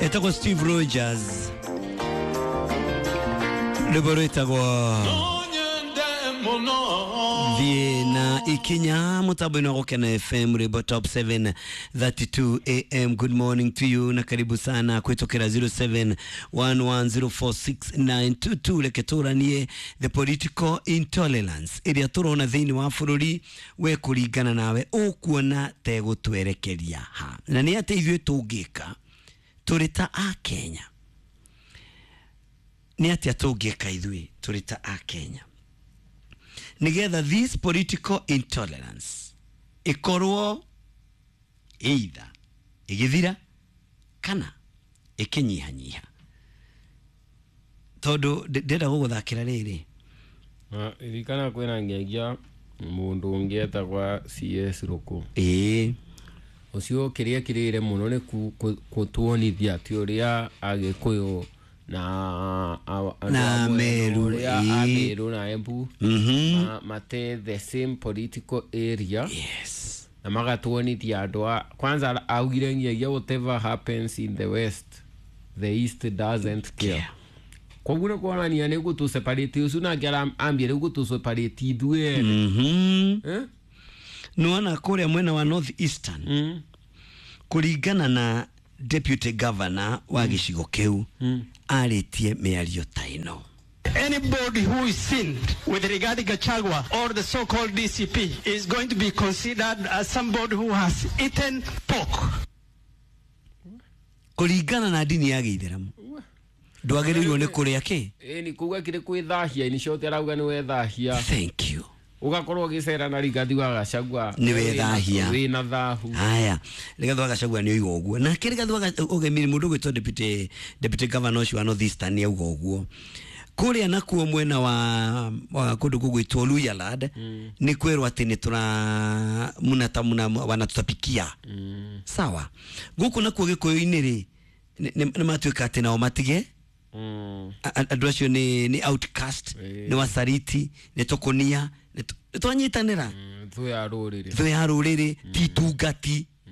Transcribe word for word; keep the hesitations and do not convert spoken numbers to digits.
Etagwo Steve Rogers, rwĩmbo rwĩtagwo thiĩ na ikinya mutambo-inĩ wa Gũkena F M, rwĩmbo top seven thirty-two A M. Good morning to you na karibu sana kwitũkĩra zero seven one one zero four six nine two two. Reke tũranie the political intolerance ĩrĩa tũrona thĩinĩ wa bũrũri, we kũringana nawe ũkuona tegũtwerekeria ha, na nĩ atĩ ithuĩ tũngĩka tũrĩ ta a Kenya, nĩ atĩa tũngĩka ithuĩ tũrĩ ta a Kenya nigetha this political intolerance ikorwo either igithira kana ikinyihanyiha, tondu ndenda guguthakira riri ririkana kwina ngegia mundu ungi etagwa C S Ruku. Ĩĩ, ucio kiria kirire muno ni kutuonithia ati uria Agikuyu na na Meru na Meru na Embu mm-hmm. mate the same political area. Yes, na magatuonithia andu a kwanza augire ngiagia whatever happens in the west the east doesn't care. Koguo nĩ kuonania nĩ gũtũ separate ucio nake ambire gũtũ separate ithuĩ. Mhm, eh nĩwona kũrĩa mwena wa North Eastern mm. kũringana na deputy governor wa gĩcigo kĩu mm. arĩtie mĩario ta ĩno. Anybody who is seen with Rigathi Gachagua or the so-called D C P is going to be considered as somebody who has eaten pork. Kũringana na ndini ya Gĩithĩramu ndwagĩrĩirwo nĩ kũrĩa kĩ? Ĩĩ, ni kuga kĩrĩ kwĩthahia, ni cote arauga nĩ wethahia. Thank you. Ugakorwo ũgĩcera na Rigathi wa Gachagua nĩ wethahia, wĩna thahu. Haya, Rigathi wa Gachagua nĩ oiga ũguo, nake Rigathi wa Ũgemi mũndũ ũgwĩtwo deputy deputy governor ũcio wa North Eastern nĩ auga ũguo. Kũrĩa nakuo mwena wa, wa kũndũ gũgwĩtwo Luhyaland mm. nĩ kwĩrwo atĩ nĩ tũra muna muna wanatutapikia mm. Sawa, gũkũ nakuo Gĩkũyũ-inĩ rĩ nĩ matuĩka atĩ nao matige mm. andũ acio nĩ nĩ outcast, e. nĩ wacariti, nĩ tũkũnia, nĩ twanyitanĩra mm, thũ ya rũrĩrĩ, thũ ya rũrĩrĩ, ti tungati.